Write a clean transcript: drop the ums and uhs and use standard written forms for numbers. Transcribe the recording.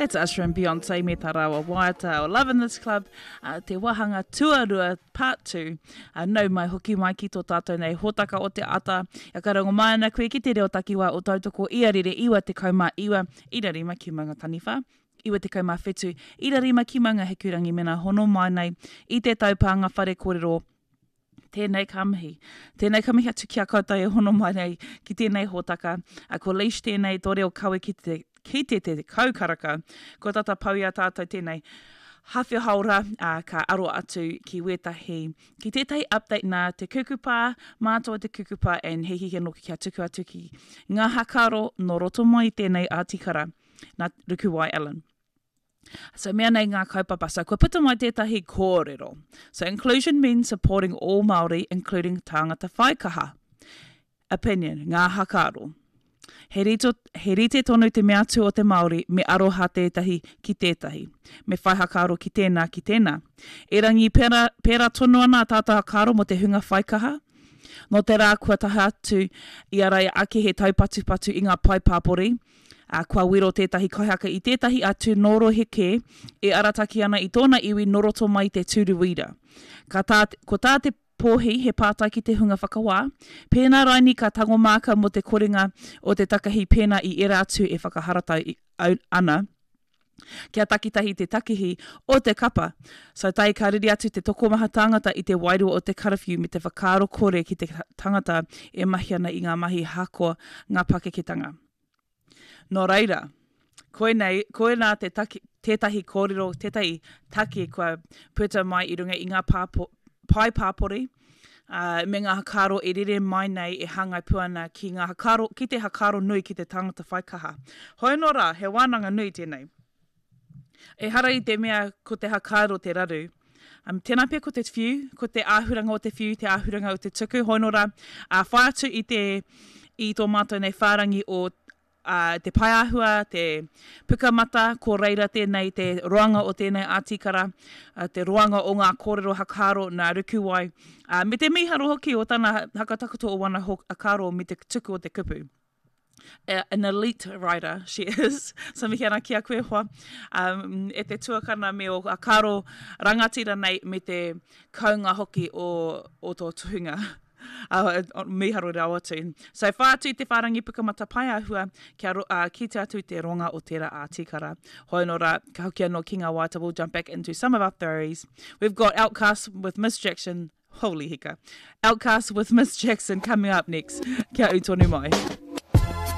That's Usher and Beyonce me tā rāua waiata o Love in This Club, uh, te wāhanga tuarua, part 2. Uh, nau mai hoki mai ki tō tātou nei hōtaka o te ata. Ia ka rongo mai ana koe ki te reo takiwā o Tautoko i a rere 99 i rarima ki Maungataniwha. 97 i rarima ki Maungahikurangi mena hono mai nei i te taupānga whare kōrero Tēnei ka mihi. Tēnei ka mihi atu ki a koutou e hono mai nei ki tēnei hōtaka. A, ko Leish tēnei, tō reo kawe ki te, ki te te kau karaka. Kua tata pau i a tātou tēnei hawhe haora, ā, ka aro atu ki wētahi, ki tētahi update nā te kukupā, mātou o te kukupā and he hiahia nōki kia tuku atu ki ngā hakaro nō roto mai i tēnei ātikara nā Rukuwai Allen. So mea nei ngā kaupapa. So kua puta mai tētahi kōrero. So inclusion means supporting all Māori, including tāngata whaikaha. Opinion, ngā hakaaro. He, rito, he rite tonu te mea atu o te Māori me aroha tētahi ki tētahi. Me whai hakaaro ki tēnā, ki tēnā. Erangi pērā, pērā tonu ana a tātou hakaaro mō te hunga whaikaha. Nō te rā kua taha atu i a Raia ake he taupatupatu i ngā pae pāpori, ā, kua wero tētahi kaihaka i tētahi atu nō rohe kē e arataki ana i tōna iwi nō roto mai i te tūru wīra. Ka tā, ko tā te pōhi he pātai ki te hunga whakawā, pēnā raini ka tango māka mō te korenga o te takahi pēnā i ērā atu e whakaharatau ana kia takitahi te takihi o te kapa. So tae ka riri atu te tokomaha tāngata i te wairua o te karawhiu me te whakaaro kore ki te tangata e mahi ana i ngā mahi hakoa ngā pakeketanga. Nō reira, koinei, koinā te taki, tētahi kōrero, tētahi take kua puta mai i runga i ngā pāpo, pae pāpori, ā, me ngā hakaaro e rere mai nei e hāngai pū ana ki ngā hakaaro, ki te hakaaro nui ki te tangata whai kaha. Hoi anō rā, he wānanga nui tēnei. Ehara i te mea ko te hakaaro te raru. Um, tēnā pea ko te whiu, ko te āhuranga o te whiu, te āhuranga o te tuku, hoi anō rā, ā, whai atu i te, i tō mātou nei whārangi o ā, te paeāhua, te pukamata, ko reira tēnei, te roanga o tēnei ātikara, ā, te roanga o ngā kōrero hakaaro nā Rukuwai, ā, me te mīharo hoki o tana hakatakoto o wana hakaaro me te tuku o te kupu. An elite writer she is. So mihi ana ki a koe hoa, um, e te tuakana me o hakaaro rangatira nei me te kounga hoki o, o tō tuhinga. Uh, mīharo rawa atu. So whai atu i te whārangi pukamata paeāhua kia ro, uh, kite atu i te ronga o tērā ātikara. Hoi anō rā, ka hoki anō ki ngā waiata, we'll jump back into some of our theories. We've got OutKast with Miss Jackson, holy hika. OutKast with Miss Jackson coming up next. Kia ū tonu mai.